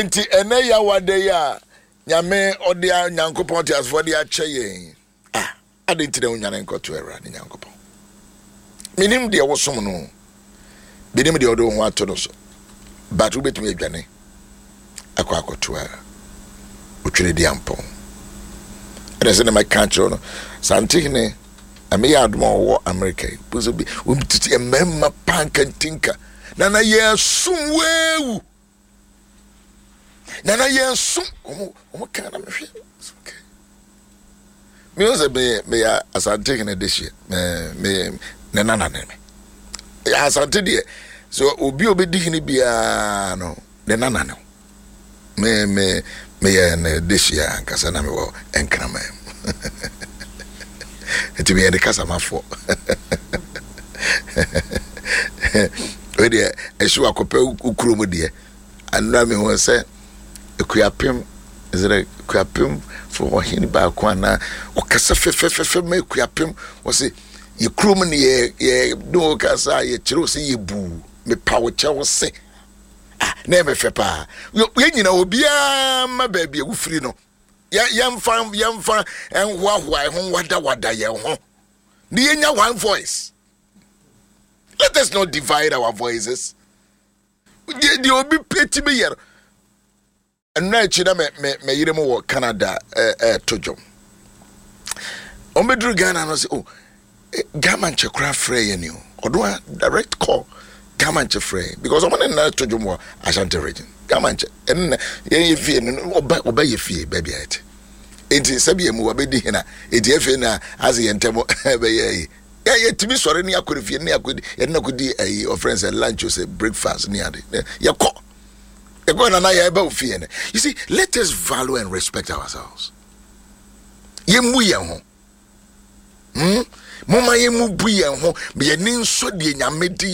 Nti ɛnɛ Yawa da yi a Nyame ɔde a Nyankopɔn teasefoɔ de akyɛ yɛn yi, ah, adɛn nti na wonwane nkɔto Awurade Nyankopɔn? Menim deɛ wosom no, menim deɛ ɔde wo ho ato no so, but wobɛtumi adwane akɔ akɔto a otwene di ampɔn. Ɛna sɛ na mɛka akyerɛ no, Santehene, na meyɛ adom a ɔwɔ Amerika yi, wɔtete mmarima paa nkantinka, na na yɛsom weewu. Nana yɛn som wɔn wɔn kan na mehwɛ okay mi sɛ meyɛ meyɛ asante hene de hyɛ mɛ meyɛ ne nana ne me yɛ asante deɛ so obi a obedi hene biara no ne nana ne me me meyɛ ne de hyɛ ankasa na mewɔ nkraman mu nti meyɛ ne kasamafoɔ wei deɛ ɛhye wakɔpɛ wo kurom deɛ anura mi ho sɛ ekuapem ɛsɛ ekuapem fo ɔhene baako anaa ɔkasa fɛfɛfɛfɛ ma ekuapem wɔsi yɛ kurom ne yɛ yɛ ne wɔ kasa yɛ kyerɛw sɛ yɛ buu mepa wo kyɛw se ah na ɛmɛ fɛ paa yɛ nyina obiara ma baabi a wofiri no yɛ yɛmfa yɛmfa nhoahoa ɛho wadawada yɛn ho ne yɛnya one voice. Let us not divide our voices. Deɛ deɛ obi pɛ ti bi yɛ no. Nnura akyi na me me me yere mu wɔ Canada ɛɛto dwom. Wɔn bɛduru Ghana no sɛ oh Ghana nkyɛ koraa frɛ yɛ ni o. Ɔdo a direct call Ghana nkyɛ frɛ yɛ because wɔn ne nna to dwom wɔ Ashanti region. Ghana nkyɛ ɛnna yɛn yɛ fie no ɔba ɔba yɛ fie baabi a yɛte. Eti sɛbi emu wabɛdi hena eti afei na ase yɛn ntɛm bɛyɛ yi. Yɛ yɛtumi sɔre ne akɔ ne fie ne akɔ yɛde no akɔdi ayi ɔfrɛ sɛ lunch o sɛ breakfast ne ade yɛkɔ yɛkɔ nana yɛba wo fie no. You see, let us value and respect ourselves. Yɛmmu yɛn ho. Moma yɛmmu bu yɛn ho. Yɛni nsɔ deɛ Nyame de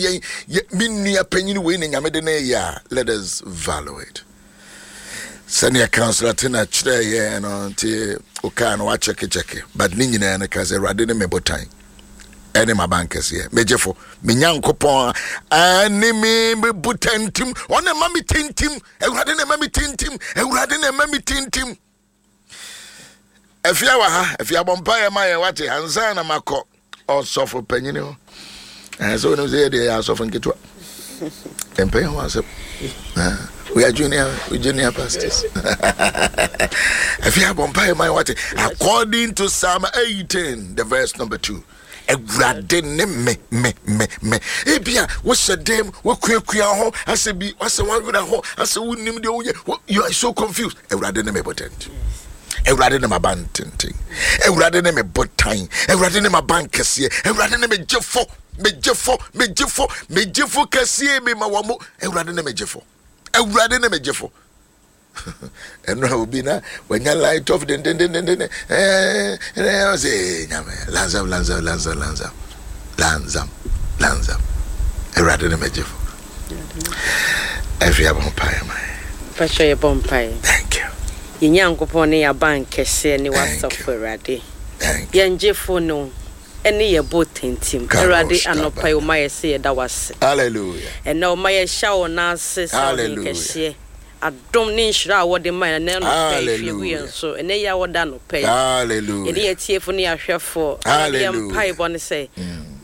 yɛn. Me nua panyin wei na Nyame de no yɛ a, let us value it. Sɛnea Councillor Tina kyerɛɛ yɛn no nti wokaa no wakyɛkekyɛke, but ne nyinaa no ka sɛ Awurade ne me botan ɛne m'abankɛseɛ, me gyefo, me Nyankopɔn ɛne me me botantim, ɔne ma me tintim, Awurade na ɛma me tintim, Awurade na ɛma me tintim. Afia wɔ ha, afia bɔ mpaeɛ ma yɛn wate ansa na makɔ ɔsɔfo panyin hɔ. Ɛɛ sɛ onim sɛ yɛ deɛ yɛ asɔfo nketewa. Mpɛn ho asɛm. We are junior, we junior pastors. Afia bɔ mpaeɛ ma yɛn wate. According to Psalm 18, the verse number 2. Awurade ne me me me me. Ebia wohyɛ dɛm, wokuakua ho, asɛ bi, asɛ wawerɛ ho, asɛ wonim deɛ woyɛ. You are so confused. Awurade ne me botent. Awurade ne m'aban tenten. Awurade ne me botan. Awurade ne m'aban kɛseɛ. Awurade ne me gyefo. Me gyefo, me gyefo, me gyefo kɛseɛ mi ma wɔn mo. Awurade ne me gyefo. Awurade ne me gyefo. Ɛno a obi na wanya light off dendendendenden ɛɛ ɛɛ ɔsɛ nyame lanzam lanzam lanzam lanzam lanzam lanzam. Awurade ne me gyefo. Ɛfi abɔ mpaeɛ ma yɛ. Mpakyɛ yɛbɔ mpaeɛ. Thank you. Yɛn Nyankopɔn ne yɛn abankɛseɛ ne w'asafo Awurade. Yɛn gyefo ne wo ɛne yɛn botantim. Awurade anɔpa yi woma yɛ sɛ yɛda wo ase. Hallelujah. Ɛnɛ woma yɛhyɛ wo nan ase sɛ ɔhene kɛseɛ. Adom ne nhyira a wɔde ma yɛn ɛnɛ anɔpa yi hwie gu yɛn so. Ɛnɛ yi a wɔda anɔpa yi. Yɛne yɛn atiefo ne yɛn ahwɛfoɔ. Awurade yɛn mpaebɔ ne sɛ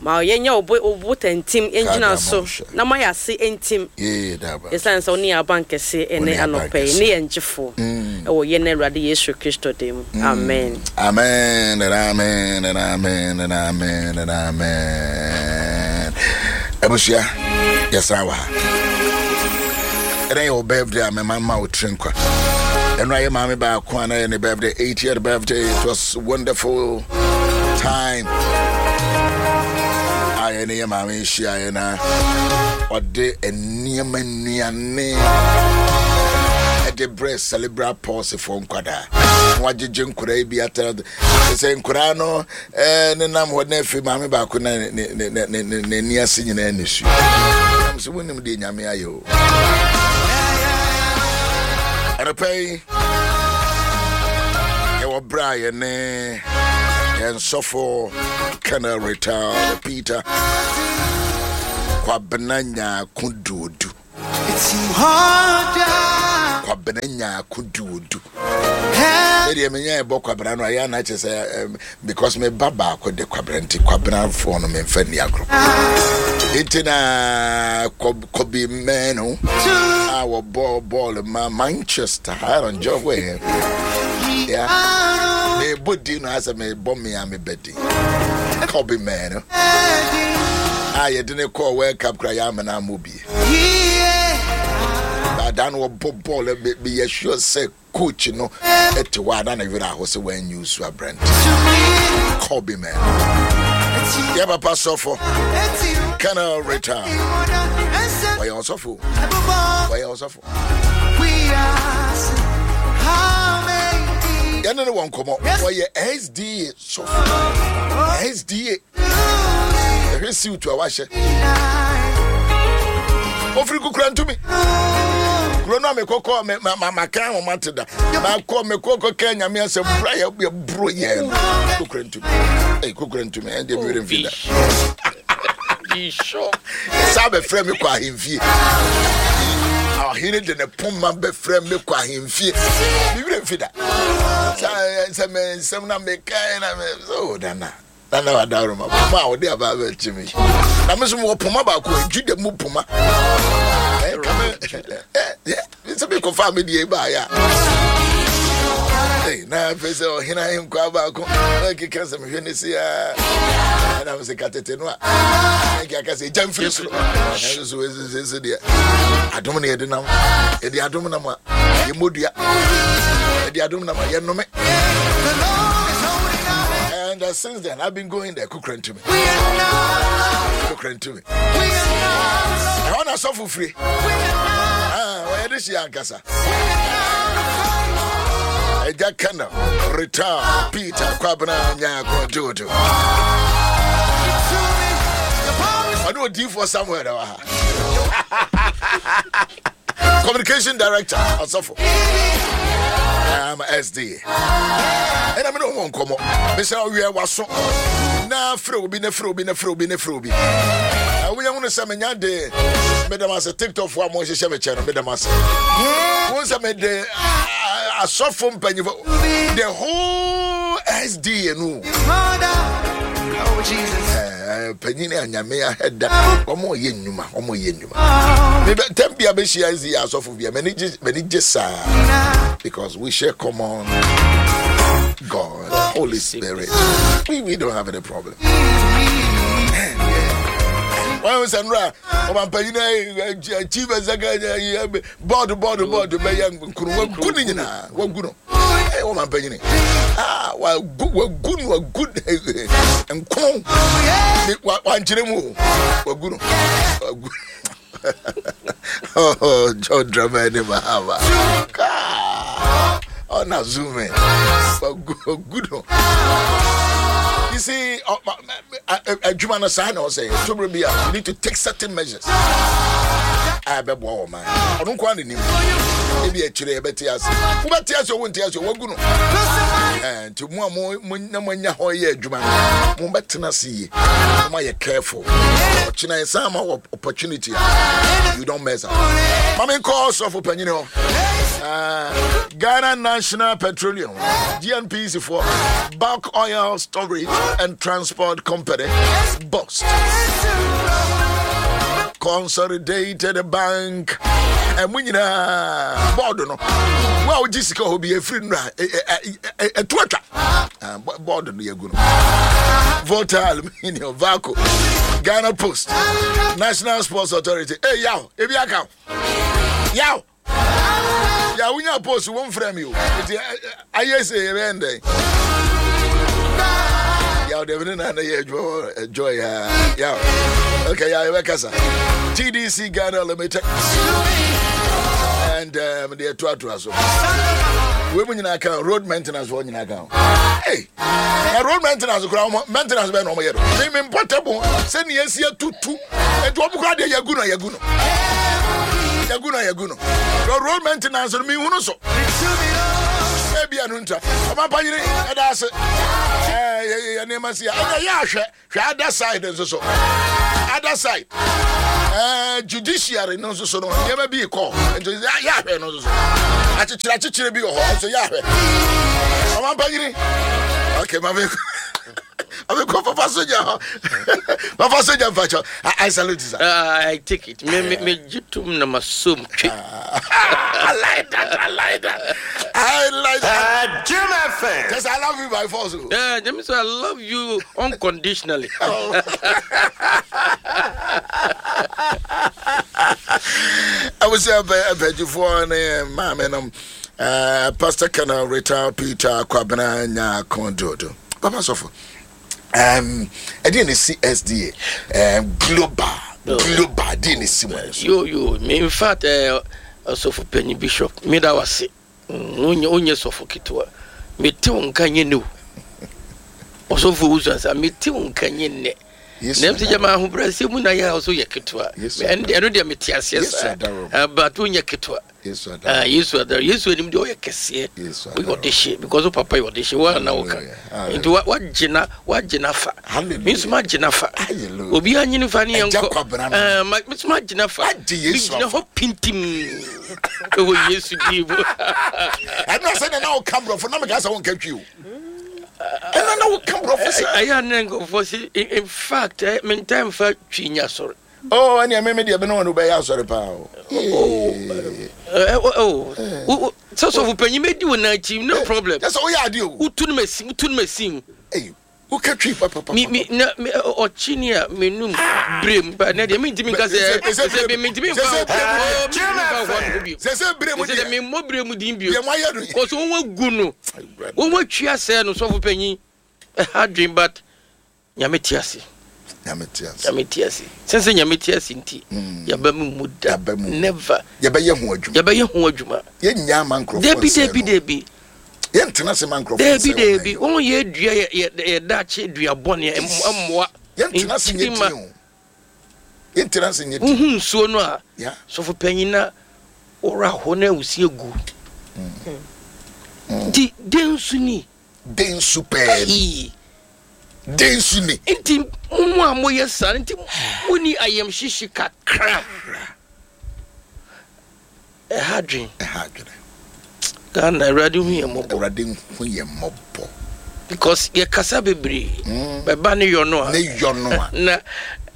ma yɛnyɛ wo bo wo botantim ngyina so na ma yɛn ase ntim. Esiane sɛ wo ne yɛn abankɛse ɛnɛ anɔpa yi ne yɛn gyefo ɛwɔ yɛn Awurade Yesu Kristo din mu. Amen. Amen and amen and amen and amen and amen. Abusua, yɛsan wɔ ha. Ɛnɛ yɛ wo birthday a mɛma ma wo tiri nkwa. Ɛno ayɛ maame baako a na yɛ ne birthday, 80th birthday. It was wonderful time. A yɛne yɛ maame hyiaeɛ na ɔde nneɛma nnuane ɛde brɛ cerebral palsy foɔ nkwadaa. Na wagyegye nkwadaa yi bi atara sɛ nkwadaa no ɛɛ nenam hɔ na afei maame baako na ne ne ne ne n'ani ase nyinaa nisuo. Nam sɛ wonim deɛ Nyame ayɛ o. Anɔpa yi yɛwɔ berɛ a yɛne yɛn sɔfo Colonel retired Peter Kwabena Nyarko Duodu. Kwabena Nyaako Duodu. Me deɛ menya ɛbɔ Kwabena no ayɛ ana kyɛ sɛ because me ba baako de Kwabena nti Kwabenafoɔ no memfa nni agorɔ. Nti na Kobe Manu a wɔbɔ bɔɔl ma Manchester Aaron Jɔhwɛ. Yeah. Mebɔ din no asɛ mebɔ me a mebɛdi. Kobe Manu a yɛde ne kɔɔ World Cup kora yɛ amena ammɔ bi. Daadaa no wɔbɔ bɔɔl meyɛ sure sɛ coach no te hɔ a na ne werɛ aho sɛ wanyi nsu aberante Kobe man. Yɛ papa sɔfo Colonel Rita wɔyɛ ɔsɔfo wɔyɛ ɔsɔfo yɛne ne wɔ nkɔmmɔ wɔyɛ SDA sɔfo SDA ɛhwɛ siwt a wahyɛ ofiri kukura ntumi kuro no a mekɔkɔ maka ahoma te da makɔ mekɔkɔ ka nyame asɛm bra yɛboro yɛn no kukura ntumi ei kukura ntumi ɛndeɛ mewerɛ mfi da saa bɛfrɛ me kɔ ahemfie ɔhene de ne poma bɛfrɛ me kɔ ahemfie mewerɛ mfi da sɛ me nsɛm na mekae na me so dana nana wadaroma poma a wɔde aba abɛkye me na me nso mewɔ poma baako juda mu poma sɛ mekɔfaa me deɛ baeɛ a na afei sɛ ɔhene ahenkwaa baako na ɛkeka sɛ mehwɛ ne se a ɛna me sɛ ka tete no a ɛnke aka sɛ ɛgya mfiri soro ɛnso so ɛsɛ deɛ adom ne yɛde nam yɛde adom nam a yɛmmɔdua yɛde adom nam a yɛnnome. And since then, I've been going there. Kukran to me. Kukran to me. I want to suffer free. Ah, why this young kasa? Eja Kana, Rita, Peter, Kwabena, Nyako, Jojo. I know D for somewhere. Communication director, Asafo. I'm SD. ɛna mene wɔn nkɔmmɔ mesɛ ɔwiɛ waso na frɛ obi na frɛ obi na frɛ obi na frɛ obi woyɛ hunu sɛ menya de medam ase tiktok foɔ a mohyehyɛ me kyɛ no medam ase wohu sɛ mede asɔfo mpanyimfo the whole sda no panyin a nyame ahɛda wɔn yɛ nnwuma wɔn yɛ nnwuma mebɛ tɛm bia bɛhyia sda asɔfo bia m'ani gye m'ani gye saa because we share common God Holy Spirit we don't have any problem wɔn sɛ nura ɔmampanyin chief executive board board board bɛyɛ nkunu wagu ne nyinaa wagu no ɔmampanyin ah wagu wagu no wagu nkono wankyerɛ mu o wagu no wagu oh John Dramani Mahama ɔna zoom in wagu wagu no you see adwuma no saa na ɔsɛ tobere bi a you need to take certain measures a ɛbɛboa wɔ man ɔno nko ara na nim ebi akyire yɛbɛte ase wobɛte ase ɔwo nte ase wagu no nti mo a mo na moanya hɔ yɛ adwuma no mobɛtena ase yie mo ayɛ careful ɔkyena yɛsan ma wɔ opportunity a you don't mess up ma menkɔ ɔsɔfo panyini hɔ Ghana National Petroleum GNPC for Bulk Oil Storage and Transport Company Bust Consolidated Bank ɛmu nyinaa bɔɔdo no wo a wogye sika hɔ bi ɛfiri nnura ɛto atwa bɔɔdo no yɛgu no Volta Aluminium Vaco Ghana Post National Sports Authority hey, yaw ebi aka yaw ya wonya post wo mfrɛ me o nti ayɛ sɛ yɛbɛyɛ ndɛn yaw deɛ mene na na yɛ adwuma joy a yaw okay yaw yɛbɛkasa TDC Ghana Limited and deɛ ɛtoatoa so wei mu nyinaa ka road maintenance wɔ nyinaa ka hey na road maintenance koraa wɔn maintenance bɛyɛ na wɔn yɛ no me me mpɔtɛbo sɛ nea esi atutu etu wɔn koraa deɛ yɛgu no yɛgu no yɛgu no yɛgu no the road maintenance no mi hunu so ebi ɛno nta ɔmo apanyini ɛda ase ɛɛ yɛ yɛ nneɛma si a ɛna yɛ ahwɛ hwɛ other side nso so other side. Eh, judiciary no nso so no nneɛma bi kɔ nti yɛ ahwɛ no nso so akyekyere akyekyere bi wɔ hɔ nso yɛ ahwɛ ɔman panyini okay maame maame kɔ papa soja hɔ papa soja mpakyɛ I salute you sir. I take it me me me gye tom na ma som twe. I like that I like that I like that. Jim FM. Yes, I love you by force. Yeah, James, I love you unconditionally. Abusua mpanyinfoɔ ne maame nom eh, Pastor Colonel Rita Peter Kwabena Nyako Dodo. Papa sɔfo, um, ɛdeɛ na ɛsi SDA um, global global deɛ na ɛsi mu ɛno so. Yo yo, me in fact, eh, ɔsɔfo panyin bishop, me da wase. Wonyɛ wonyɛ sɔfo ketewa. Mete wo nka nyɛ nnɛ o. Ɔsɔfo owusu ansa mete wo nka nyɛ nnɛ. Na ɛm sɛ gyama ahobrɛaseɛ mu na yɛ a ɔsɛ yɛ ketewa. Ɛno deɛ mete aseɛ saa. Ah, but wonyɛ ketewa. Yesu adaro. Ah, Yesu adaro. Yesu anim deɛ ɔyɛ kɛseɛ. Woyɛ ɔdehye because wo papa yɛ ɔdehye. Wo na woka. Nti wagyina wagyina fa. Me nso magyina fa. Obiara nyini fa ne yɛnkɔ. Ah, me nso magyina fa. Megyina hɔ pintim. Ɛwɔ Yesu din mu. Ɛno sɛ na na woka borɔfo na meka sɛ wonka twi o. Ɛno na woka borɔfo sɛ. Ɛyɛ a na nkurɔfoɔ se in fact eh, mentaa mfa twi nyɛ asɔre. Oh, ɛnea me me deɛ me ne wɔn bɛyɛ asɔre paa o. Oh, oh, sɛ sɔfo panyin bɛdi wo nan akyi no problem. Kyɛ sɛ woyɛ adeɛ o. Wotu no masi wotu no masi mu. Woka twi papapapa. Mi mi na mi ɔkyi ni a mi num brem ba ne deɛ mi ntumi nka sɛ sɛ mi mi ntumi nfa hɔ mi ntumi nfa hɔ no bio. Sɛ sɛ brem deɛ. Sɛ mi mmɔ brem din bio. Deɛ mo ayɛ no. Kɔsɔ wɔn agu no wɔn atwi asɛɛ no sɔfo panyin ɛha dwen but nyame te ase. Nyame te ase. Nyame te ase. Sɛ sɛ nyame te ase nti yaba mu mu da. Never. Yɛbɛyɛ ho adwuma. Yɛbɛyɛ ho adwuma. Yɛnnya ama nkurɔfoɔ nsɛe no. Dabi dabi dabi. Yɛntena ase ma nkurɔfoɔ nsɛe wɔn. Dabi dabi. Wɔn yɛ dua yɛ yɛ yɛ daakye dua bɔne mmoa. Yɛntena ase nyɛ din o. Yɛntena ase nyɛ din. Wohu nsuo no a, sɔfo panyin na wɔra hɔ na awusie gu. Nti den nso ni. Den nso pɛɛ ni. Den nso ni. Nti mo a moyɛ saa nti monni ayamhyehye kakra. Ɛha adwene. Ɛha adwene. Ghana awurade hu yɛn mmɔbɔ. Awurade hu yɛn mmɔbɔ. Because yɛ kasa bebree. Mm. Bɛba ne yɔ no a. Ne yɔ no a. Na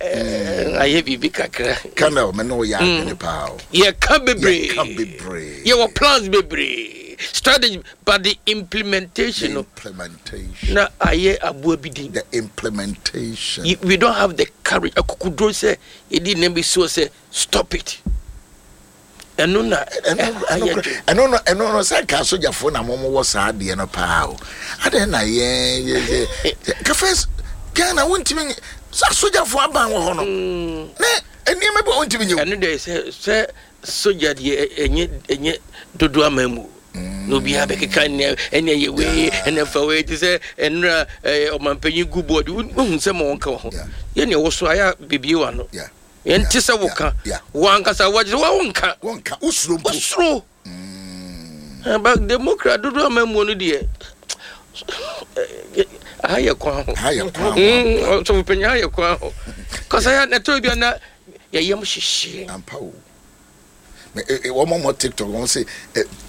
eh, ayɛ biribi kakra. Colonel me ne wo yɛ adwene mm. paa o. Yɛ ka bebree. Yɛ ka bebree. Yɛ wɔ plans bebree. Strategy but the implementation no. The implementation. Na ayɛ aboa bi din. The implementation. We don't have the courage. Akukuduro sɛ yɛdi nneɛma bi so sɛ stop it. Ɛno na ɛha yɛ dwen. Ɛno no ɛno no sɛ nka asogyafoɔ na wɔn wɔ saa adeɛ no paa o. Adɛn na yɛn yɛ yɛ ka first Ghana wontumi nye sɛ asogyafoɔ aban wɔ hɔ no mm. ne nneɛma bi a wontumi nye o. Ɛno deɛ sɛ sɛ sogya deɛ ɛnyɛ ɛnyɛ dodo ama mu mm. na obiara bɛkeka ɛnɛ ɛnɛ yɛ wei ɛnɛ fa wei te sɛ ɛnura ɛɛ ɔmanpanyin gu bɔɔdi wohu sɛ ma wɔn ka wɔ ho yɛ nea ɛwɔ so ayɛ bebie wa no. Ɛnte sɛ woka. Wo ankasa wagye sɛ wonka. Wonka. Wosuro mpo. Wosuro. Mm. But Democrat dodo ama mu no deɛ aha yɛ kwan ho. Aha yɛ kwan ho. Mm, ɔsɔfo panyin aha yɛ kwan ho. Kɔsa ya na ɛtɔ bi na yɛyam hyehye. Ampa o. Wɔn mo TikTok wɔn sɛ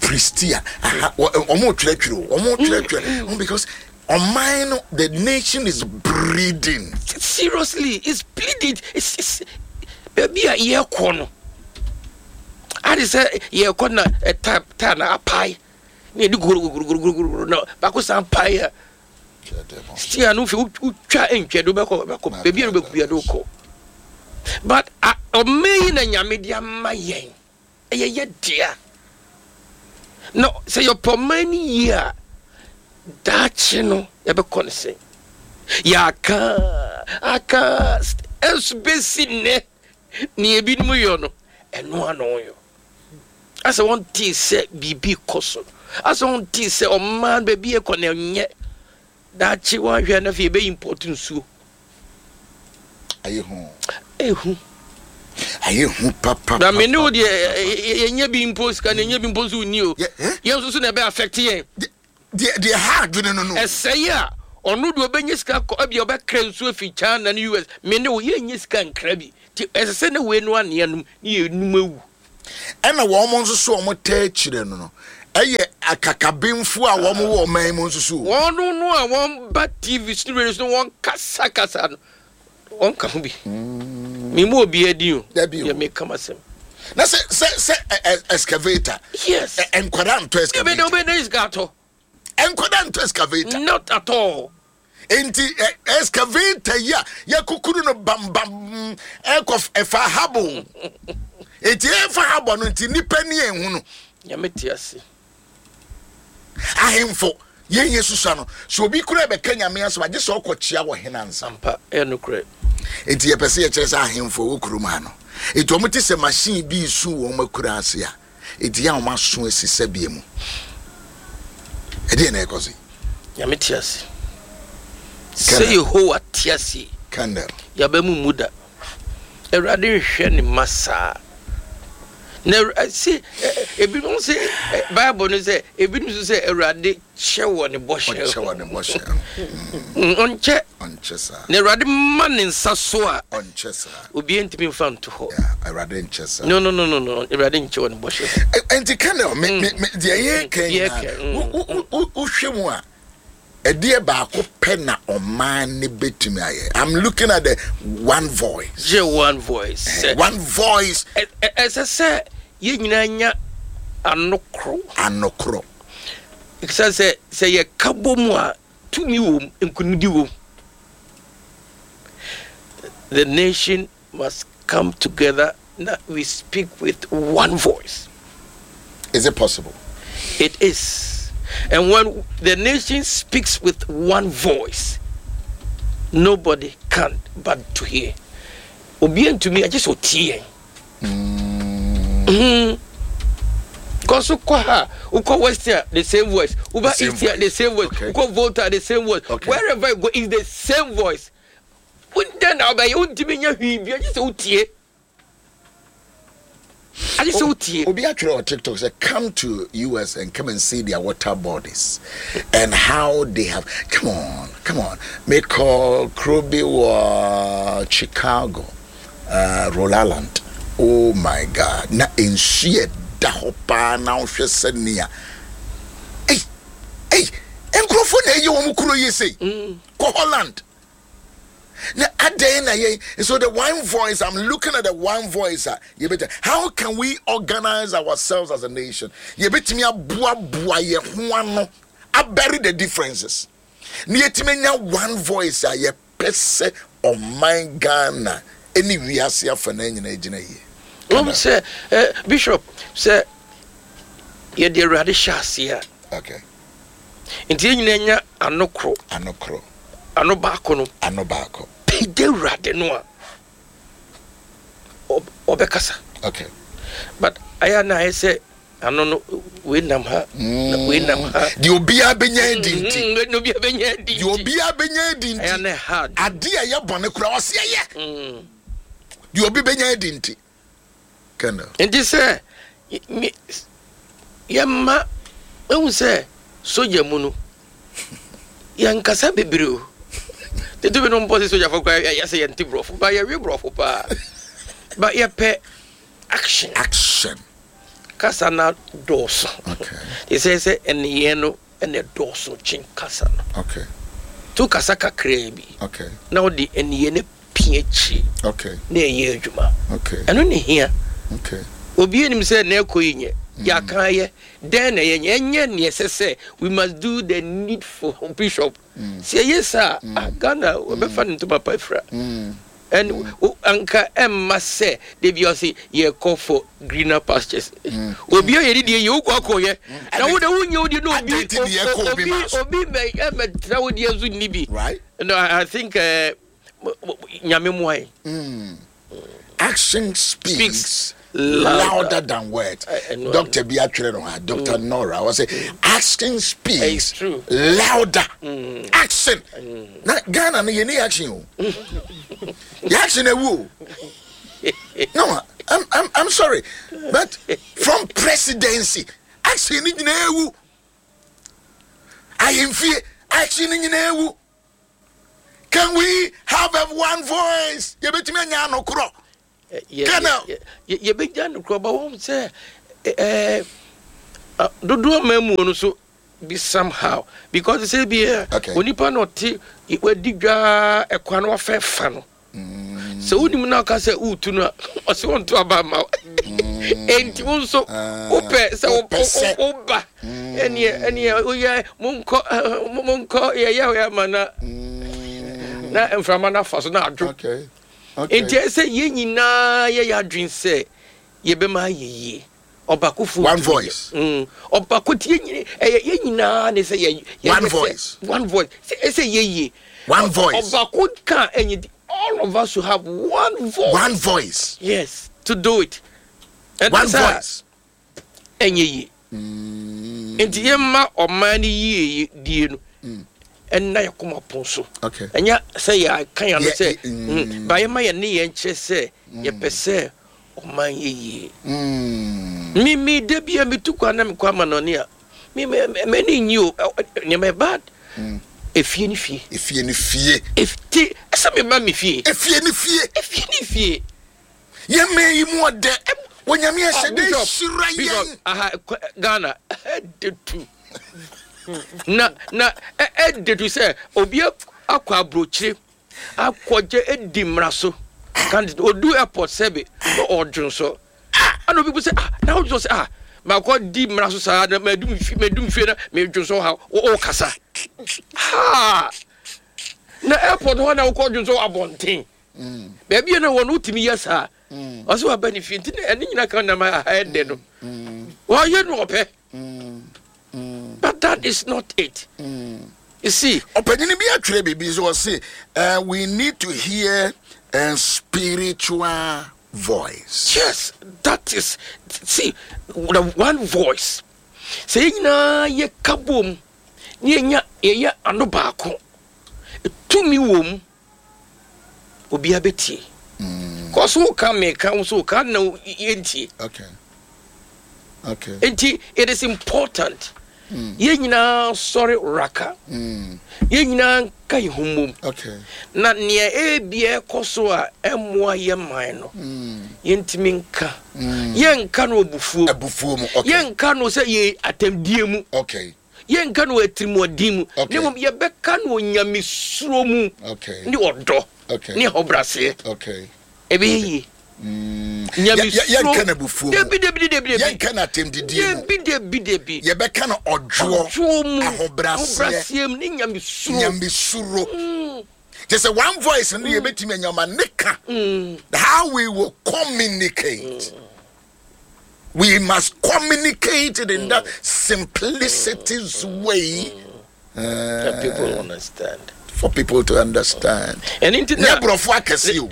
Pristia aha wɔn twerɛtwerɛ o wɔn twerɛtwerɛ mm. because Ɔman no the nation is bleeding. Seriously it's bleeding it's it's baabi a yɛkɔ no ade sɛ yɛkɔ na ɛta ta na apae na yɛde guruguruguruguru na baako san pae a stia no fi wotwa ntwa de wobɛkɔ bɛkɔ baabi a wobɛkɔ bia de wokɔ but ɔman yi na nyame de ama yɛn Ɛyɛ yɛ dea. Na sɛ yɛpɛ ɔman no yie a, daakye no yɛbɛkɔ no sɛn? Yɛaka aka ɛnso bɛsi nnɛ nea ebinom yɔ no, ɛno ano yɔ. Asɛ wɔntee sɛ biribi kɔ so. Asɛ wɔntee sɛ ɔman baabi ɛkɔ no ɛnyɛ. Daakye wɔanhwɛ na afei yɛbɛ import nsuo. Ayɛ hu. Ehu. Ayɛ hu papa. Na me ne wo deɛ yɛnyɛ bi mpo sika na yɛnyɛ bi mpo nso nni o. Yɛn nso so na ɛbɛ affect yɛn. Deɛ deɛ ha adwene no no. Ɛsɛe a ɔno deɛ ɔbɛnya sika kɔ ebia ɔbɛkra nsuo afi China ne US me ne wo yɛnyɛ sika nkra bi. Nti ɛsɛ sɛ na wei no anea nom ne yɛnum awu. Ɛna wɔn nso so wɔn taa akyire no no ɛyɛ akakabenfoɔ a wɔn wɔ ɔman mu nso so o. Wɔn no a wɔn ba TV so ne radio so no wɔn kasa kasa no wɔn ka ho bi. Me mu obiara din o. Dabi o. Deɛ meka m'asɛm. Na sɛ sɛ sɛ excavator. Yes. Nkwadaa ntɔ excavator. Ebe de sika atɔ. Nkwadaa ntɔ excavator. Not at all. Nti excavator yi a yɛkukuru no bambam ɛkɔ ɛfa habo. Nti ɛfa habɔ no nti nipa ni ehu no. Nyame te ase. Ahemfo yɛn yɛ susua no sɛ obi kura bɛka nyame asɛm agye sɛ ɔkɔ kyia wɔ hene ansa. Ampa ɛyɛ nokorɛ. Nti yɛpɛ sɛ yɛkyerɛ sɛ ahemfo wɔ kurom ha no nti wɔn te sɛ machine bi resu wɔn akura ase a Enti yɛ a wɔn aso asi sɛbeɛ mu. Ɛdeɛn na ɛrekɔ so yi? Nyame te ase. Sɛ Yehowa te ase. Kandel. Yaba mu mu da. Awurade nhwɛ ne mma saa. Na se ebinom se Bible no sɛ ebinom nso sɛ Awurade kyɛ wɔ ne bɔhyɛ ho. Ɔkyɛ wɔ ne bɔhyɛ ho. Ɔnkyɛ. Ɔnkyɛ saa. Na Awurade ma ne nsa so a. Ɔnkyɛ saa. Obiara ntumi nfa nto hɔ. Yeah, Awurade nkyɛ saa. No, no, no, no, no. Awurade nkyɛ wɔ ne bɔhyɛ ho. Nti Colonel, me, me, me, deɛ yɛ kan nyinaa, wohwɛ mu a, ɛdeɛ baako pɛ na ɔman ne bɛtumi ayɛ. I'm looking at the one voice. Gye one voice. One voice. Ɛsɛ sɛ yɛn nyinaa nya ano koro. Ano koro. Ɛsiane sɛ sɛ yɛka bɔ mu a, tumi wom, nkonimdi wom. The nation must come together na we speak with one voice. Is it possible? It is. And when the nation speaks with one voice, nobody can but to hear. Obi ntumi agye sɛ ɔtie yɛn. Mm. Because wokɔ ha, wokɔ west a, the same voice. Woba east a, the same voice. Okay. Wokɔ volta, the same voice. Okay. Wherever you go, it's the same voice. Wodɛn na wobɛyɛ? Wontumi nyɛ hwee bi, agye sɛ wotie. Agye sɛ wotie. Obi atwerɛ wɔ TikTok sɛ come to US and come and see their water bodies and how they have. Come on, come on. Mekɔ kuro bi wɔ Chicago. Uh, Rhode Island. Oh my God. Na nsu yɛ da hɔ paa na wohwɛ sɛ nea. Ei, ei, nkurɔfoɔ na ɛyɛ wɔn kuro yi sei. Mm. Kɔ Holland. Na adɛn na yɛn so the one voice I'm looking at the one voice a yɛbɛtumi how can we organize ourselves as a nation yɛbɛtumi aboaboa yɛn ho ano abɛre the differences na yɛtumi anya one voice a yɛ pɛ sɛ ɔman Ghana ne wiase afanaa nyinaa gyina yie. Wohu sɛ eh, Bishop, sɛ yɛde Awurade hyɛ aseɛ a. Okay. Nti yɛn nyinaa nya ano koro. Ano koro. Ano baako no. Ano baako. Pagya Awurade no a, ɔbɛkasa. Okay. But ayɛ na ayɛ sɛ Ano no, wei nam ha, na wei nam ha. Deɛ obiara bɛnya adi nti. Deɛ obiara bɛnya adi nti. Deɛ obiara bɛnya adi nti. Ɛyɛ ne hard. Adeɛ a ɛyɛ bɔne koraa ɔsi ɛyɛ. Deɛ obi bɛnya adi nti. Colonel. Nti sɛ yɛma ehu sɛ sogya mu no yɛnkasa bebree o. Tete bi no mpɔ sɛ sogyafo koraa yɛsɛ yɛnte borɔfo ba yɛwe borɔfo paa ba yɛpɛ action. Action. Kasa no dɔɔso. Te sɛ sɛ nneyɛɛ no na ɛdɔɔso kyen kasa no. Okay. To kasa kakraa bi. Okay. Na wode nneyɛɛ no pia akyiri. Okay. Na ɛyɛ adwuma. Okay. Ɛno ne hia. Okay. Obi anim sɛ na ɛkɔ yi nyɛ. Mm. Yɛaka ayɛ. Dɛn na ɛyɛ nyɛ? Ɛnyɛ nea ɛsɛ sɛ we must do the needful bishop. Mm. Sɛ ɛyɛ saa, mm. ah, Ghana wɔbɛfa ne ntoma pa afira. Mm. And anka ɛmma sɛ da bi ɔse yɛkɔ for greener pastures. Mm. Obi a yɛde deɛ yɛ wokɔ akɔyɛ. Na wo de wonyɛ wo deɛ na obi obi obi mɛ ɛmɛ tena wo deɛ nso nni bi. Right. No, I think uh, nyame mmoa yɛn. Mm. Action speaks, speaks louder, louder than words. Doctor bi atwerɛ no ha, Doctor mm. Nora, ɔsɛ mm. action speaks louder. Mm. Action. Mm. Na Ghana no yɛ ni action o. Yɛ action ewu o. No, I'm, I'm, I'm sorry, but from presidency, action ni nyinaa ewu. Ahemfie, action ni nyinaa ewu. Can we have a one voice? Yɛbɛtumi anya ano korɔ. Colonel. Yɛbɛgya no korɔ ba wɔn sɛ ɛɛ dodoɔ mmamuo no so bi somehow because sɛ bi ɛ onipa na ɔte wadi dwa ɛkwan no wafɛ fa no mm. sɛ wonim na ɔka sɛ wotu no a ɔsɛ wɔnto aba ma wo mm. enti wo nso ah, wopɛ sɛ woba mm. ɛneɛ ɛneɛ woyɛ monkɔ monkɔ yɛyɛ yɛ ama na na mframa no afa so na adwo enti ɛsɛ yɛn nyinaa yɛyɛ adwene sɛ yɛbɛma ayɛ yie Ɔbakofo One voice. Ɔbako ti yɛn nyina ɛyɛ yɛn nyinaa ne sɛ yɛ yɛ One voice. One voice. Sɛ ɛsɛ yɛ yie. One voice. Ɔbako ka ɛnyɛ di. All of us should have one voice. One voice. Yes, to do it. One voice. Ɛnyɛ yie. Nti yɛn mma ɔman ne yie die no. Ɛnna yɛ kɔma pɔn so. Okay. Ɛnyɛ sɛ yɛ aka yɛn ano sɛ. Ba yɛn ma yɛn ne yɛn kyerɛ sɛ yɛpɛ sɛ. Ɔman yɛ yie. Me me da bi a metu kwan na mekɔ amanɔne a me me m'ani nnye o nneɛma yɛ bad. Efie ne fie. Efie ne fie. Ti ɛsɛ me ba me fie. Efie ne fie. Efie ne fie. Yɛn mɛn yi mu ɔdɛ. Onyame ahyɛ dɛ hyira yɛn. Aha Ghana ɛde tu. Na na ɛde tu sɛ obi akɔ aburokyire. Akɔgye edi mmara so. Candidate odu airport sɛbe na ɔdwonsɔ. Ɛna obi bu sɛ ah na wodwonsɔ sɛ ah makɔ di mmara so saa na madu me fie madu me fie na medwonsɔ ha wo kasa. Ha na airport hɔ na wokɔ dwonsɔ abɔnten. Baabi a na wɔn wotumi yɛ saa. Ɔsɛ waba ne fie nti na ɛne nyina ka nam ha ɛdɛ no. Wɔyɛ no ɔpɛ. But that is not it. You see. Ɔpanyin bi atwerɛ biribi sɛ ɔse uh, we need to hear a spiritual voice. Yes, that is see the one voice. Sɛ yɛn nyinaa yɛ ka bom ne yɛnya yɛyɛ ano baako tumi wɔ mu obiara bɛtie. Kɔ so woka meka wo so woka na yɛntie. Okay. Okay. Nti it is important. Yɛn nyinaa sɔre raka. Yɛn nyinaa nka yɛn ho mmom. Okay. Na nea ebia ɛkɔ so a ɛmmoa yɛn man no, yɛntumi nka. Yɛnka no abufuo mu. Abufuo mu. Okay. Yɛnka no sɛ yɛ atɛmdie mu. Okay. Yɛnka no atirimuɔden mu, na mmom yɛbɛka no onyamesuro mu ne ɔdɔ ne ahobrɛaseɛ. Ɛbɛyɛ yie. Mm. Nyamesuro. Yɛnka no abufuo mu. Dabi dabi dabi dabi. Yɛnka no atɛmdidie mu. Dabi dabi dabi. Yɛbɛka no ɔdwoɔ. Ɔdwoɔ mu. Ahobrɛaseɛ. Ahobrɛaseɛ mu ne nyamesuro. Nyamesuro. Kyɛ sɛ one voice no yɛbɛtumi anya ma ne ka. How we will communicate. We must communicate it in mm. that simplicity mm. way. That people understand. For people to understand. And into that. Brofo akɛse o.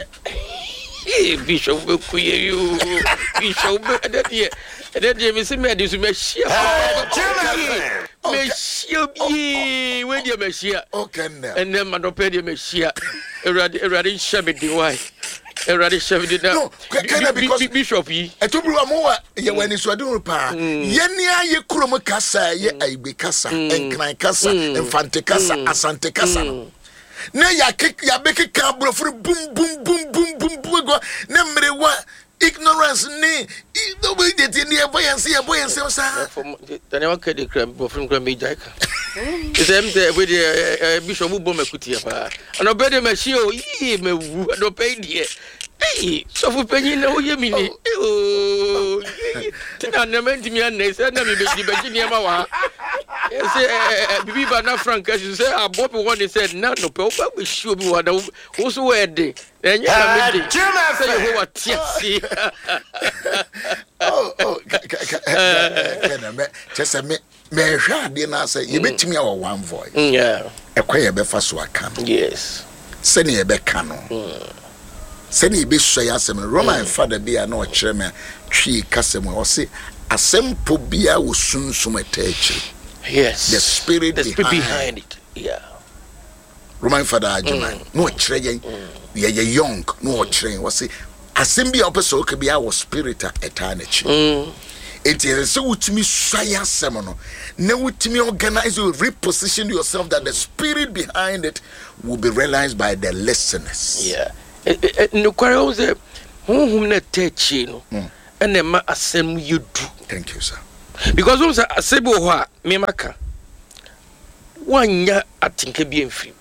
Bishop bɛku yɛ yi o. Bishop bɛ ɛdɛ deɛ ɛdɛ deɛ mesi mɛ ɛde so mɛhyia. Mɛhyia bie wei deɛ mɛhyia. Ɛnɛ madɔpɛ deɛ mɛhyia. Awurade Awurade nhyɛ me den wae. Awurade hyɛ me den na. No, kɛnɛ because bishop yi. Ɛto buru a mo wa yɛ wɔ anisoadehunu paa. Yɛn ni ayɛ kurom kasa yɛ ayigbe kasa, nkran kasa, mfante kasa, asante kasa no. Na yɛabɛkeka aborɔfo no bum bum bum bum bum bum egu ne mmerewa ignorance ne ne yɛbɔ yɛn se yɛbɔ yɛn nsɛm saa. Tani waka de kura borɔfo no kura megyae ka. Sɛ m sɛ ɛfɛ deɛ bishop bɔ makutia paa. Anɔpɛ deɛ mahyia o yii mawu anɔpɛ yi deɛ. Ei sɔfo panyin na woyɛ mi ni ooo ti na nneɛma ntumi anɛ sɛ na mi bɛgye bɛgye nneɛma wɔ ha. Sɛ bibi ba na frank asi so sɛ abɔ bi wɔ ne sɛ na anɔpɛ woba bɛhyia obi wɔ ha na wo so wɔ ɛde. Ɛnyɛ na me de sɛ Yehowa te ase. Oh, oh, kyɛ sɛ me mehwɛ adeɛ no asɛ yɛbɛtumi awɔ one voice ɛkwan yɛbɛfa so aka no sɛnea yɛbɛka no sɛnea yɛbɛsua yɛ asɛm no Roman fada bi a na ɔkyerɛ me Twi kasa mu a ɔse asɛm po biara wɔ sunsum ɛtaa akyiri. Yes. The spirit, the spirit behind it. Yeah. Roman fada Agyeman na ɔkyerɛ yɛn yɛyɛ young na ɔkyerɛ yɛn wɔse asɛm bi a wopɛ sɛ ɔka bi a wɔ spirit a ɛtaa n'akyi enti ɛsɛ sɛ wotumi sua yɛ asɛm no na wotumi organize you reposition yourself that the spirit behind it will be realized by the listeners. Yeah. Nokware wo sɛ Honhom no ɛtɛ akyire no ɛna ɛma asɛm no yɛ du. Thank you sir. Because wohu sɛ asɛm bi wɔ hɔ a mema ka woannya atenka bi amfiri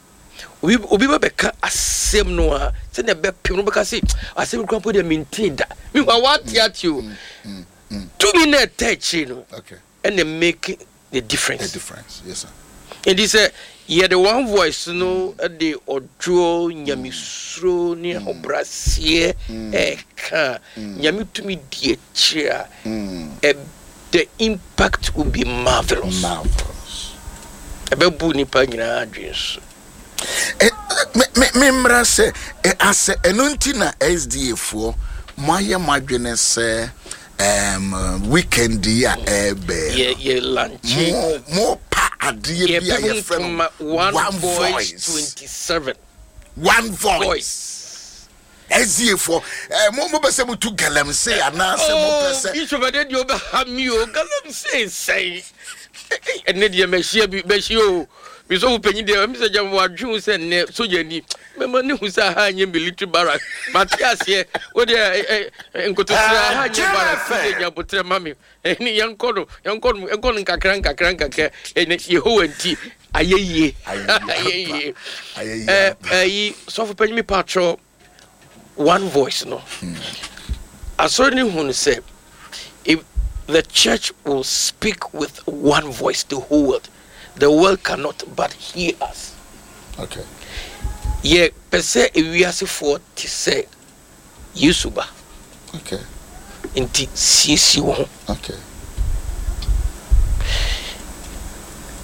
obi obi ba bɛka asɛm no a sɛnea ɛbɛpem no bɛka se asɛm kura mpo deɛ mentee da mehu a woate ate o tumi no ɛtɛ akyire no ɛna make the difference. The difference, yes sir. Nti sɛ yɛde one voice no mm. de ɔdwoɔ nyamesuro ne mm. ahobraseɛ mm. ɛka nyame tumi di akyire a the impact will be marvelous. Marvelous. Ɛbɛbu nipa nyinaa adwene so. Memmra sɛ asɛ ɛno nti na SDA foɔ moayɛ mo adwene sɛ um, weekend yi a ɛrebɛn yɛ yɛ lanche mo mo pa adeɛ bi a yɛfrɛ no one voice 27 one voice SDA foɔ eh, mo mo bɛ sɛ mo tu galamsey anaasɛ mo pɛ sɛ. Oh, bishop ɛdɛ deɛ ɔbɛha mi o galamsey sɛn ɛnɛ deɛ mɛhyia bi mɛhyia o bisɔfo panyin deɛ ɛmi sɛ gyama wadwe sɛ nnɛ sogya ni Mɛma no hu sɛ aha nyɛ military barrack. Mate aseɛ. Wo deɛ nkotosrɛ aha nyɛ barrack. Wo deɛ nya abotrɛ ma me. Ɛne yɛnkɔ no, yɛnkɔ no, yɛnkɔ no nkakra nkakra nkakra. Ɛne Yehowa nti ayɛ yie. Ayɛ yie. Ɛyi sɔfo panyin mi patrɔ one voice no. Asɔre no hu no sɛ if the church will speak with one voice the whole world the world cannot but hear us. Okay. Yɛ pɛ sɛ ewiasefoɔ te sɛ Yesu ba. Okay. Nti siesie wo ho. Okay.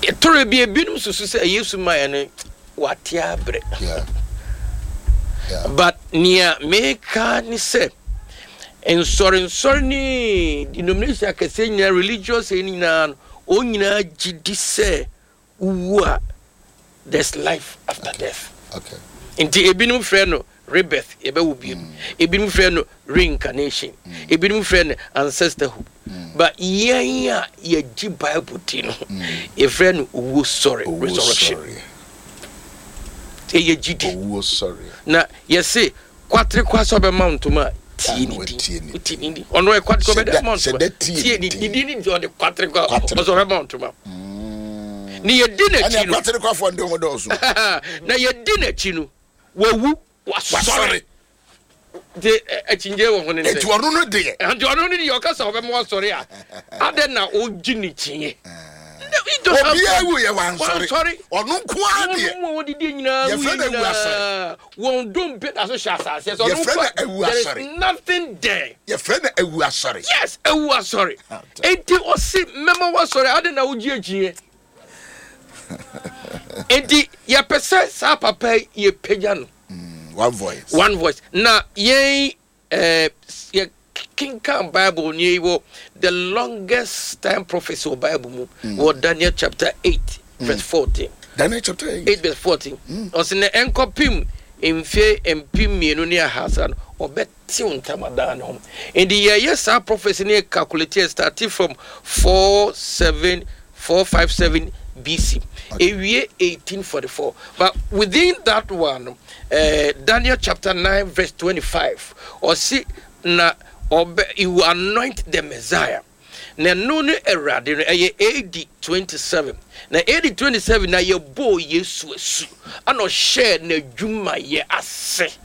Ɛtɔrɔ bi ebinom susu sɛ Yesu maa no wate abrɛ. Yeah. Yeah. But nea meka ne sɛ nsɔrensɔre ne denomination akɛseɛ nyinaa religious nyinaa no wɔn nyinaa gye di sɛ wowu a there's life after okay. death. Okay. Nti ebinom frɛ no rebirth yɛbɛwo bio. Ebinom frɛ no reincarnation. Ebinom frɛ no ancestorhood. But yɛn a yɛgye Bible di no, yɛfrɛ no owuo sɔre, resurrection. Ɛyɛ gyidi. Owuo sɔre. Na yɛse kwaterekwa sɛ ɔbɛma wo ntoma a tie ne din. Tie ne din. Ɔno ɛ kwaterekwa ɔbɛda ama wo ntoma. Tie ne din. Ne din ne ɔde kwaterekwa ɔsɛ ɔbɛma wo ntoma. Ne yɛdi n'akyi no. Ɛnna kwaterekwafoɔ nde ho dɔɔso. Na yɛdi n'akyi no, wawu, wasɔre. Nti akyinnye wɔ ho ne sɛ. Nti ɔno no deɛ. Nti ɔno no deɛ ɔka sɛ ɔbɛma wasɔre a, adɛn na ɔgye ne kyinnye? Obiara wu yɛ wansɔre. Ɔno nko ara deɛ. Wɔn mu a wɔdidi nyinaa wu Yɛfrɛ no awu asɔre. nyinaa. Wɔn dompe da so hyɛ asase so. Ɔno Yɛfrɛ nko no awu there is asɔre. nothing there. Yɛfrɛ no awu asɔre. Yes, awu asɔre. Enti ɔse mɛma wasɔre adɛn na wogye akyinnye? Enti yɛpɛ sɛ saa papa yi yɛpagya no. One voice. One voice. Na yɛn eh, yɛ kenkan Bible ni wɔ the longest time prophecy wɔ Bible mu wɔ Daniel chapter 8 verse 14. Daniel chapter 8. 8 verse 14. Ɔsɛ na ɛnkɔpem mfe 2300 no ɔbɛtew ntamadan no ho. Nti yɛyɛ saa prophecy no yɛ calculate yɛ starting from 47457 BC. Ewie 1844. But within that one, Daniel chapter 9 verse 25, ɔse na ɔbɛ he will anoint the Messiah. Na ɛno ne Awurade no ɛyɛ AD 27. Na AD 27 na yɛbɔɔ Yesu asu ana ɔhyɛɛ n'adwumayɛ ase.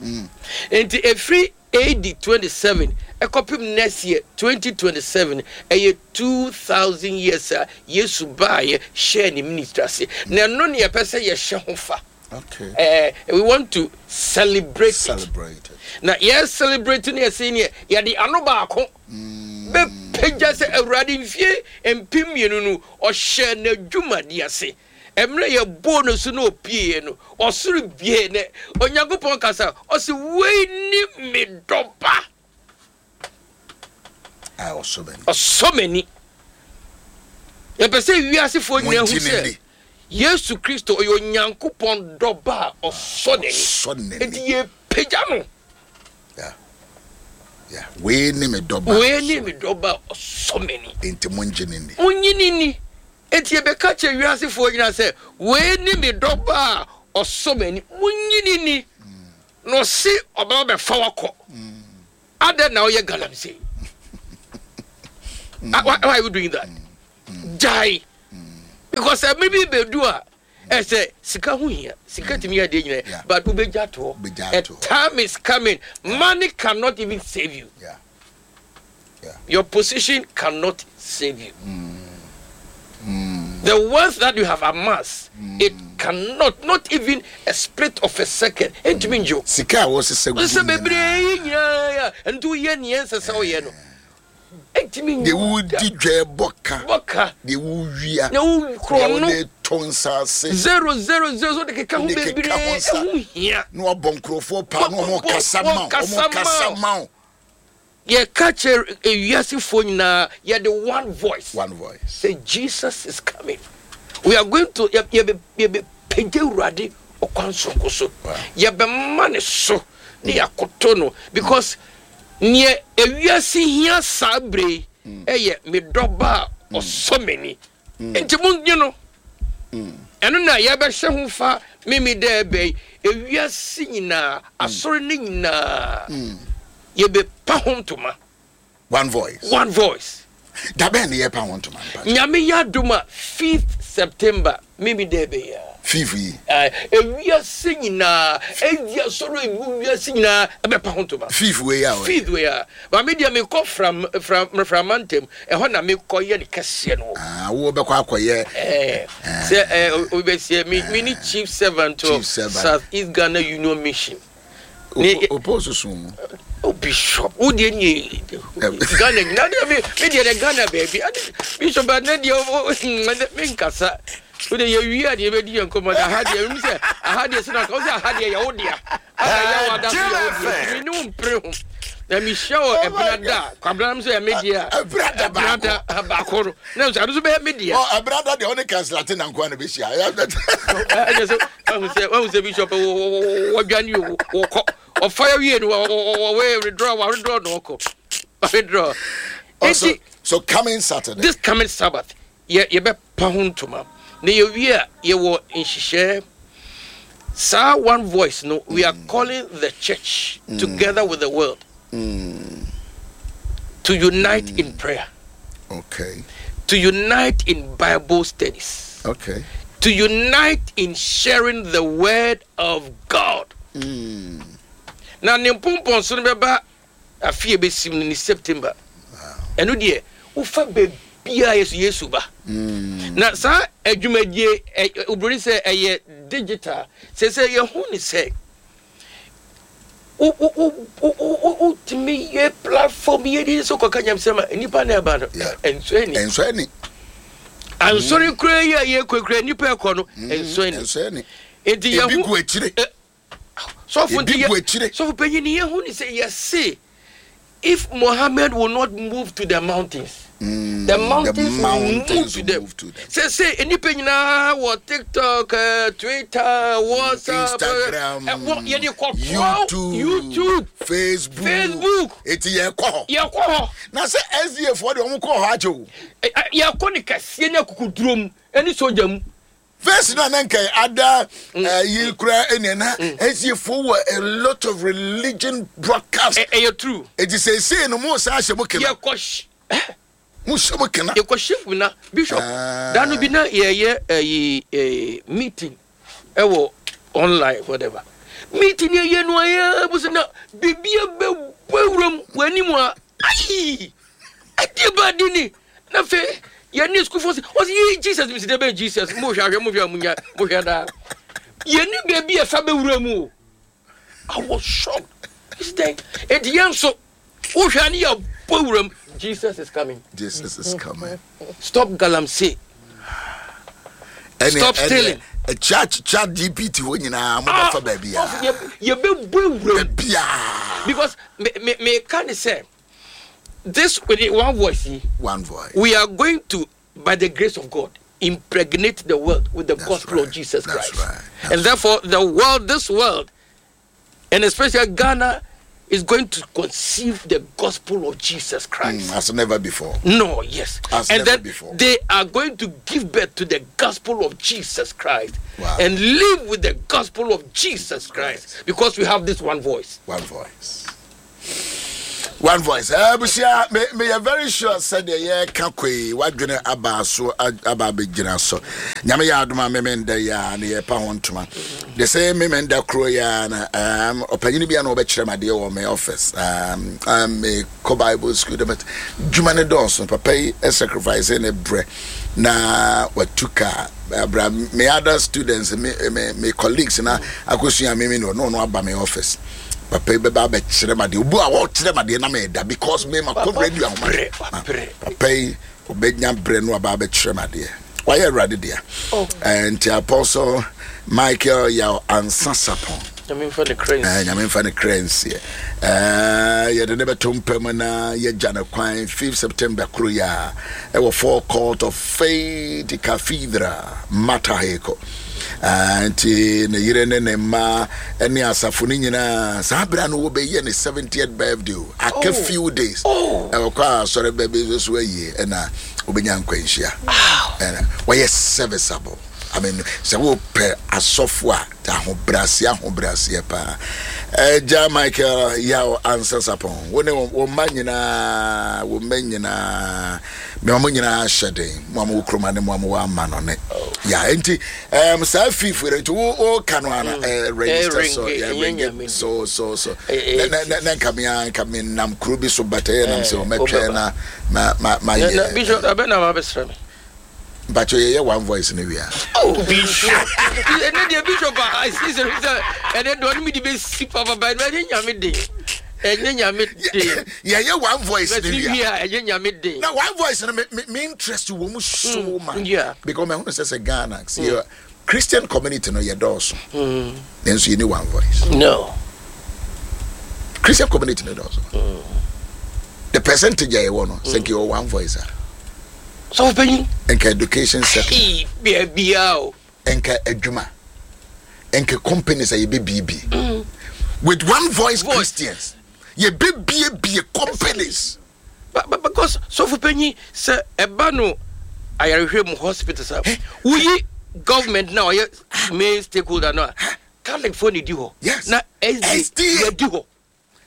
Nti ɛfiri AD 27 ɛkɔpem next year 2027 ɛyɛ 2000 years a Yesu baeɛ hyɛɛ ne ministry ase. Na ɛno ne yɛpɛ sɛ yɛhyɛ ho fa. Okay. We want to celebrate, Celebrate it. Na yɛ celebrate no yɛsɛ neɛ yɛde ano baako bɛpagya sɛ Awurade mfie 2000 no ɔhyɛ n'adwumade ase. Mmerɛ yɛbɔɔ no so na ɔpieeɛ no, ɔsoro bie ne Onyankopɔn kasa, ɔse wei ne me dɔba. A ɔsɔ m'ani. Ɔsɔ m'ani. Yɛpɛ sɛ wiasefoɔ nyinaa hu Mongye no sɛ nni. Yesu Kristo ɔyɛ Onyankopɔn dɔba a ɔsɔ n'ani. Ɔsɔ n'ani. Enti yɛpagya no. Yeah. Yeah. Wei ne me dɔba a Wei ne ɔsɔ me dɔba a ɔsɔ m'ani. Enti mongye no nni. Monnye no nni. Enti yɛbɛka kyerɛ wiasefoɔ nyinaa sɛ, wei ne me dɔba a ɔsɔ m'ani. Monnye no nni. Na ɔse ɔbɛba bɛfa wakɔ. Adɛn na woyɛ galamsey? Ah, why, why are you doing that? Gyae. Because ɛmɛ bi bɛdu a ɛsɛ sika ho hia. Sika tumi yɛ adeɛ nyinaa. Yeah. But wobɛgya toɔ. Wobɛgya A toɔ. time is coming. Money cannot even save you. Yeah. Yeah. Your position cannot save you. The wealth that you have amassed, it cannot, not even a split of a second. Entumi ngye wo. Sika a wɔsesa gu Sɛ mu bebree nyinaa. yi nyinaa a, nti woyɛ nea ɛnsɛ sɛ woyɛ no. Entumi Deɛ ngye wo da. wodi dwa bɔ ka. Bɔ ka. Deɛ wowia. Na wo Deɛ korɔ no. wode tɔ nsaase. 000 so de keka ho Wode keka bebree ho nsa. ɛho hia. Na wabɔ nkurɔfoɔ paa na wɔn kasa ma wo. Wɔn Wɔn kasa ma wo. Yɛka kyerɛ ewiasefoɔ nyinaa yɛde one voice. One voice. Say Jesus is coming. We are going to yɛ yɛbɛ yɛbɛpagya Awurade ɔkwan soronko so. Wow. Yɛbɛma ne so ne yɛakoto no because neɛ ewiase hia saa bere yi ɛyɛ me dɔba a ɔsɔ m'ani. Nti monnye no. Ɛno na yɛbɛhyɛ ho fa mimi dɛ ɛbɛ yi ewiase nyinaa asɔre ne nyinaa yɛbɛpa ho ntoma. One voice. One voice. Da bɛn ne yɛpa ho ntoma mpa? Nyame yɛ adom a 5th September mimi dɛ ɛbɛ yi a. Fifth yi. Ewiase nyinaa edi asɔre egu wiase nyinaa ɛbɛpa ho ntoma. Fifth wei a. Fifth wei a. Ba me deɛ mekɔ fram fram framantam ɛhɔ na mekɔ yɛ ne kɛseɛ no. Ah, wo bɛkɔ akɔyɛ. Ɛɛ sɛ ɛɛ obi bɛseɛ mi mi ni chief servant Chief of servant. South East Ghana Union Mission. Ne- Opo soso mu. O bishop wo deɛ nie Ghana nyinaa deɛ me me deɛ deɛ Ghana baabi ade bishop ba ne deɛ o o me nkasa wo deɛ yɛ wie a deɛ yɛbɛdi yɛn nkɔmɔ na aha deɛ ɛmu sɛ aha deɛ sɛ na ka wo sɛ aha deɛ yɛ wo dea ana yɛ wo ada so yɛ wo deɛ nti me ne wo mpere ho na mehyia wɔ ɛbena da a kwabena no sɛ yɛ me deɛ a Ɛbena da ɛbena da baako no na nso ado so bɛyɛ me deɛ Ɔ ɛbɛrɛ da deɛ ɔne kansilate na nkoa na bɛhyia. ɛnyɛ sɛ wahu sɛ wahu sɛ bishop wɔdwane o wɔkɔ ɔfa yɛ wie no wɔwɔ withdraw withdraw na ɔkɔ withdraw Oh, so, nti so coming Saturday. this coming Sabbath yɛ yɛbɛpa ho ntoma na yɛwie a yɛwɔ nhyehyɛɛ saa one voice no we are calling the church together with the world to unite in prayer Okay. to unite in Bible studies Okay. to unite in sharing the word of God. Na ne mpɔmpɔnso no bɛba afe a ɛbɛsim no ne September. Ɛno deɛ wofa baabiara Yesu Yesu ba. Na saa adwumadie ɛ oburoni sɛ ɛyɛ digital sɛ sɛ yɛhu ne sɛ wo wo wo wo wo wotumi yɛ platform yɛ de sɛ kɔka nyamsɛm a nnipa na ɛba no Yeah. ɛnsɔ ani. Ɛnsɔ ani. Ansɔre kura yi a yɛkɔ kura nnipa ɛkɔ no ɛnsɔ ani. Ɛnsɔ ani. Nti Ebi yɛho gu akyire. sɔfo Ebi nti gu akyire. sɔfo panyin ni yɛho ni sɛ yɛse if Mohammed will not move to the mountains the mountains, the mountains will move to will them move to them. sɛ sɛ nnipa nyinaa wɔ TikTok Twitter WhatsApp Instagram, yɛde kɔ YouTube, YouTube Facebook. Facebook. Eti yɛkɔ hɔ. Yɛkɔ hɔ. Na sɛ SDA foɔ deɛ wɔn kɔ hɔ akyɛ o. Yɛkɔ ne kɛseɛ ne akokoduro mu ɛne sogya mu. First na na nka ada yi kura ɛnea na SDA foɔ wɔ a lot of religion broadcast. Ɛyɛ true. Eti seesei no mo san ahyɛ mo kena. Yɛkɔ hy Mo hyɛ mo kena. Yɛkɔ shift na bishop Ah. da no bi na yɛyɛ ɛyi ɛɛ meeting ɛwɔ online whatever meeting yɛ yɛ no ayɛ busu na biribi abɛbɔ ewuram wɔ anim a ayi ɛdeɛ ba di ni na afei yɛne sukuufoɔ sɛ ɔsɛ yi Jesus mi si dɛ bɛn Jesus mo hwɛ ahwɛ mo hwɛ a mo nya mo hwɛ daa yɛne baabi a ɛfa bɛwura mu o I was shocked. It's then enti yɛn nso wohwɛ a ne yɛbɔ wuram Jesus is coming. Jesus is coming. Stop galamsey. Ɛne Stop stealing. ɛne chat chat GPT hɔ nyinaa mo bɛfa baabi a. Yɛbɛbɔ wuram. Baabi a. Because me me me ka ne sɛ this with the one voice yi One voice. we are going to by the grace of God impregnate the world with the That's gospel right. of Jesus That's Christ. right. That's And therefore the world, this world, and especially Ghana, is going to conceive the gospel of Jesus Christ. As never before. No, yes. As and never then before. they are going to give birth to the gospel of Jesus Christ Wow. and live with the gospel of Jesus Christ because we have this one voice. One voice. One voice. Abusua, me me yɛ very sure sɛ deɛ yɛreka kɔ yi wadwene aba so aba abɛgyina so. Nyame yɛ adom a meme nda yi a na yɛpa ho ntoma. The same meme nda koro yi a na um, ɔpanyini bi a na ɔbɛkyerɛ me adeɛ wɔ me office. Um, um, me kɔ Bible school but dwuma ne dɔɔso. Papa yi sacrifice ne brɛ na watu kaa abra me other students me me me colleagues na akosua me me no no aba me office. Papa yi bɛba abɛkyerɛ me adeɛ. Obu a ɔkyerɛ me adeɛ na meda because me ma kɔ radio ahoma. Papa yi ɔbɛnya berɛ no aba abɛkyerɛ me adeɛ. Wayɛ Awurade dea. Oh. Nti Apostle Michael Yaw Ansa Sapon. Nyame mfa ne kra nsie. Nyame mfa ne kra nsie. Yɛde ne bɛto mpa mu na yɛgya no kwan 5 September koro yi a ɛwɔ Forecourt of Faith Cathedral Mataheko. Nti ne yere ne ne mma ne asafo no nyinaa saa berɛ a no wɔbɛyɛ ne 70th birthday o aka oh. few days oh. ɛwɔ kɔ a asɔre bɛbi nso so ayie ɛna wobɛnya nkwanhyia ɛna wɔyɛ serviceable I mean sɛ wopɛ asɔfo a ahobrɛaseɛ ahobrɛaseɛ paa ɛgya Michael Yaw Ansa Sapɔn wo ne wo mma nyinaa wo mma nyinaa mema mo nyinaa hyɛ den mo a mowɔ kurom ne mo a mowɔ ama no ne ya nti um, saa fifo no nti woka no ana eh, register so ya ringe so so so na na na nka me nka me nam kuro bi so but ɛyɛ nam sɛ ɔmɛtwɛn na ma ma ma yɛ bishop abɛ na ma bɛsrɛ me mpakyɛ yɛyɛ one voice no wia oh bishop ɛnɛ deɛ bishop a sɛ sɛ ɛnɛ deɛ ɔne me de bɛsi papapa ɛnyɛ nyame den ɛnyɛ nyame den yɛyɛ one voice no wia ɛnyɛ nyame den na one voice no me me me interest wɔ mu so mm, much yeah. because mɛhunu sɛ sɛ Ghana sɛ mm. Christian community no yɛ dɔɔso mm. nanso yɛni one voice no Christian community no dɔɔso mm. the percentage a yɛwɔ no sɛ nka yɛwɔ one voice a sɔfo panyin nka education sector baabiara o nka adwuma nka companies a yɛbɛbiebie mm. with one voice, voice. Christians yɛbɛbiebie companies because sɔfo panyin sɛ ɛba no ayarehwɛ mu hospital sa woyi government na ɔyɛ main stakeholder no a Catholic fo na di hɔ na SDA yɛdi hɔ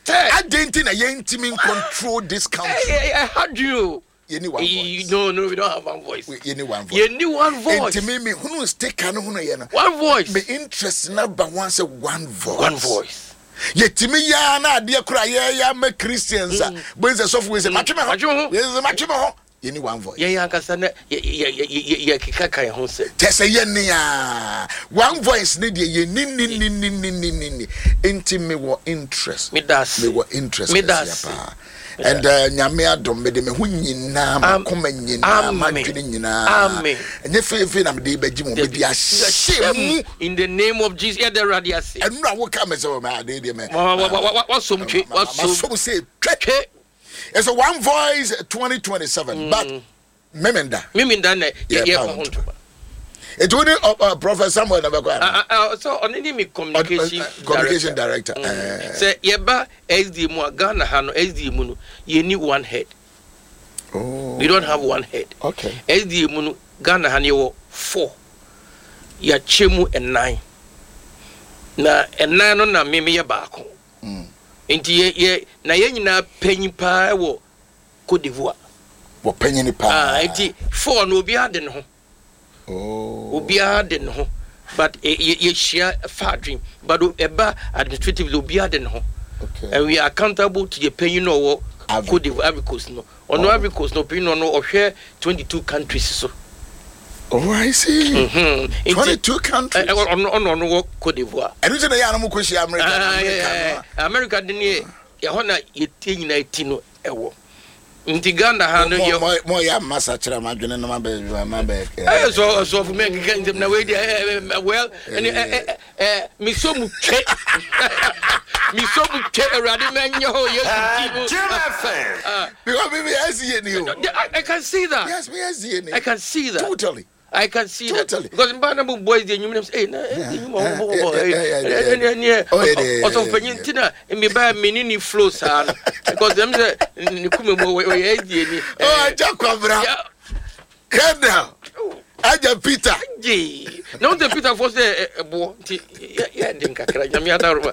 Adɛn nti na yɛntumi control this country? Ɛha dwen o. Yɛni one voice. No, no, we don't have one voice. Yɛni one voice. Yɛni one voice. Nti mi mi hunu sticker no hunu yɛ no. One voice. Me interest na ba one sɛ one voice. One voice. Yɛtumi yaa na adeɛ kora yɛyɛ ama Christians a. Bɛn sɛ sɔfo wei sɛ matwe me ho. Matwe me ho. Wei sɛ matwe me ho. Yɛnni one voice. Yɛn ankasa na yɛkeka ka yɛn ho nsɛm. Kyɛ sɛ yɛnni a one voice ne deɛ yɛnni ni ni ni ni ni ni ni nti mewɔ interest. Meda ase. Mewɔ interest kɛseɛ paa. And uh, nyame adom mede me ho nyinaa makoma nyinaa madwene nyinaa ɛnyɛ feefee na mede bɛgye mu mede ahyɛ mu in the name of Jesus yɛda awurade ase ɛno na woka me sɛ wɔ me ade deɛ mɛ wasom twe wasom sɛ twe It's a one voice 2027 mm. but memenda. Memenda na yɛ yɛ ho ntoma. Ètò wo ni Prophet Samuel na bɛkɔ ana. So ɔne ne mi communication communication director. Mm. Eh. Sɛ yɛba SD mu a Ghana ha no SD mu no yɛ ni one head. Oh. We don't have one head. Okay. SD mu no Ghana ha no yɛwɔ four. Yɛakyɛ mu ɛnan. Na ɛnan no na me meyɛ baako. Nti yɛ yɛ na yɛn nyinaa panyin paa wɔ Cote d'Ivoire. Wɔ panyin paa. Ah, nti four no obiara de ne ho. Oh. Obiara de ne ho. But eh, yɛ yɛhyia fa adwene. But ɛba administratively obiara de ne ho. Okay. And we are accountable to the panyin no ɔwɔ Cote d'Ivoire, Ivory Coast no. Ɔno oh. Ivory Coast no panyin no ɔno ɔhwɛ 22 countries so. Oh, I see. Mm-hmm. 22 countries. Ɔno ɔno ɔno wɔ Cote d'Ivoire. Ɛno nti na yɛ anam kɔ hyia America. Ah, America no. America de ne ɛhɔ na yɛtie nyinaa ti no ɛwɔ. Nti Ghana ha no yɛ. Mo yɛ ama sakyera ma adwene no ma bɛ ma bɛ. Ɛyɛ sɔ ɔsɔfo mɛ keka nsɛm na wei deɛ ɛ well ɛne ɛ ɛ mesɔ mu twe mesɔ mu twe awurade mɛnyɛ hɔ yesu ti mu. Jim FM. Because me me SDA ni o. I can see that. Yes, me SDA ni. I can see that. Totally. I can see totally. that. Because mba na mo boys de enyim na eh na enyim mo bo bo eh eh eh ọsọ panyin ti na me ba me ni ni flow saa no because dem sɛ ne kume mu ɔyɛ SDA ni. Oh, aja kwabra. Kendall. Aja Peter. Gye. Na wo sɛ Peterfoɔ sɛ ɛboɔ nti yɛ den kakra Nyame adaworoma.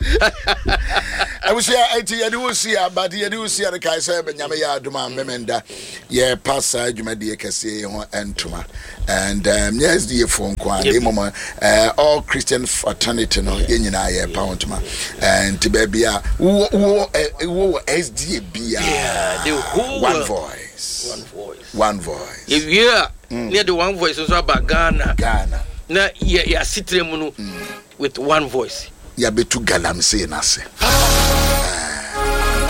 Abusua enti yɛde wo si a but yɛde wo si a no kae sɛ Nyame yɛ adom a Memenda yɛpa saa dwumadie kɛseɛ yi ho ntoma and um, nyɛ SDA foɔ nko a na mmom all Christian fraternity no yɛn nyinaa yɛpa ho ntoma nti baabi a wowɔ wɔ SDA biara, one voice, one voice, one voice. Yɛwie a ne yɛde one voice nso aba Ghana. Ghana na yɛ yɛ asetena mu no with one voice. Yɛabɛtu galamsey no ase.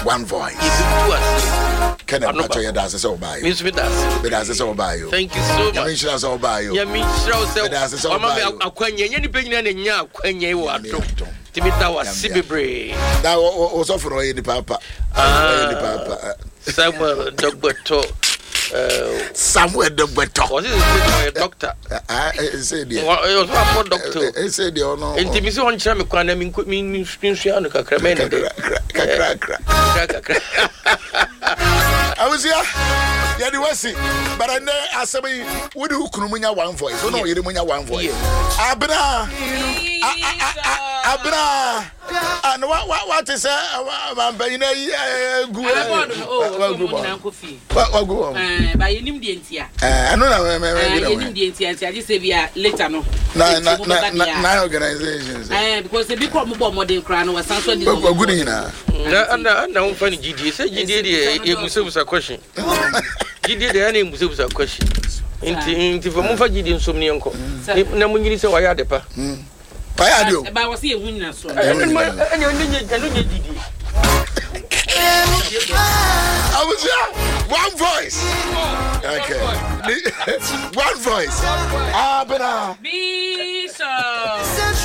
One voice. Yɛbɛtu ase. Kenneth Pacho yɛda ase sɛ wobaeɛ. Me nso meda ase. Meda ase sɛ wobaeɛ o. Thank you so much. Nyame nhyira sɛ wobaeɛ o. Nyame nhyira wo sɛ meda ase sɛ wama me wobaeɛ o. akwanya. Ɛnyɛ nipa nyinaa na nya akwanya yi wɔ Nyame adom. adom. Nti meda wo ase Nyame bebree. Na wo sɔfo no ɔyɛ nipa pa. Ɔyɛ nipa pa. Samuel Dɔgbɛtɔ. Samuel Dɔgbɛtɔ. Ɔsi sɛ sɛ ɔyɛ dɔkta. Ɛsɛ deɛ. Ɔsɛ akɔ dɔkta o. Ɛsɛ deɛ ɔno. Nti mi sɛ ɔnkyerɛ mi kwan na mi nko mi nsua no kakra mɛ ne de. Kakra kakra. Kakra kakra. Abusua yɛde wasi but ɛnɛ asɛm yi wode wo kunu mu nya one voice wo ne ɔyere mu nya one voice. Abena abena. Ah, no, wa wa wa te sɛ mampanyin ayi gu wagu bɔ wagu bɔ. Ɛɛ ba yɛnim deɛ ntia. Ɛɛ ɛno na mɛ mɛ mɛ bi na yɛnim deɛ ntia nti agye sɛ bi a later no. Na na na na nine organizations. Ɛɛ because ebi kɔ ɔmo bɔ ɔmɔden koraa no wɔsan so di. Wagu ne nyinaa. Na ɛna ɛna wɔn fa ne gyidie sɛ gyidie deɛ ebusabusa question gyidie deɛ ɛna ebusabusa question nti nti fɛ mo fa gyidie nsom ne yɛn kɔ na mo nyini sɛ wɔayɛ ade pa. Wayɛ ade o. Ɛba wɔ sɛ yɛhu nyinasoɔ. Ɛno nyɛ gyidie. Abusua, one voice. Okay. One voice. Abena. Bishop.